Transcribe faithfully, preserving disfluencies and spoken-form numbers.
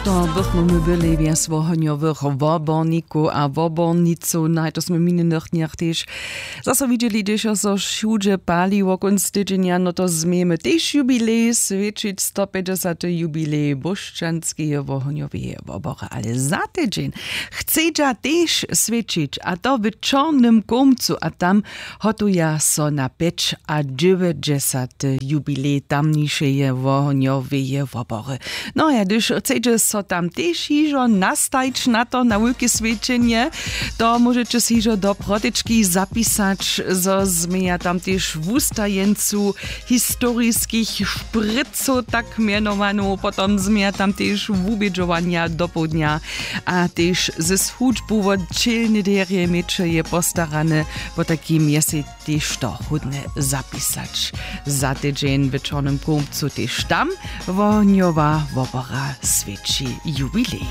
To bychmy my byli wjas wohonjowych wobornikow a wobornicow, no a to smy w minjenych dnjach tež zaso widźeli, hdyž so wšudźe paliło kónc tydźenja. No to změjemy tež jubilej swjećić, stopjećdźesaty jubilej bóšćanskeje wohonjoweje wobory, ale za tydźeń chcedźa tež swjećić, a to w Čornym Kołmcu, a tam hotuja so na pjećadźewjećdźesaty jubilej tamnišeje wohonjoweje wobory. No ja, hdyž chcedźe so tam tež hižo nastajić na to, na wulke swjećenje, to móžeće so hižo do protečki zapisać, zo změja tam tež wustajeńcu historiskich šprycow, tak mjenowanu, potom změja tam tež wubědźowanja dopołdnja, a tež ze schudźbu wot ćelny derje měće je postarane. Wo takim je sej tež to hódne zapisać. Za tydźeń w Čornym Kołmcu tež tam wohnjowa wobora swěći jubilej.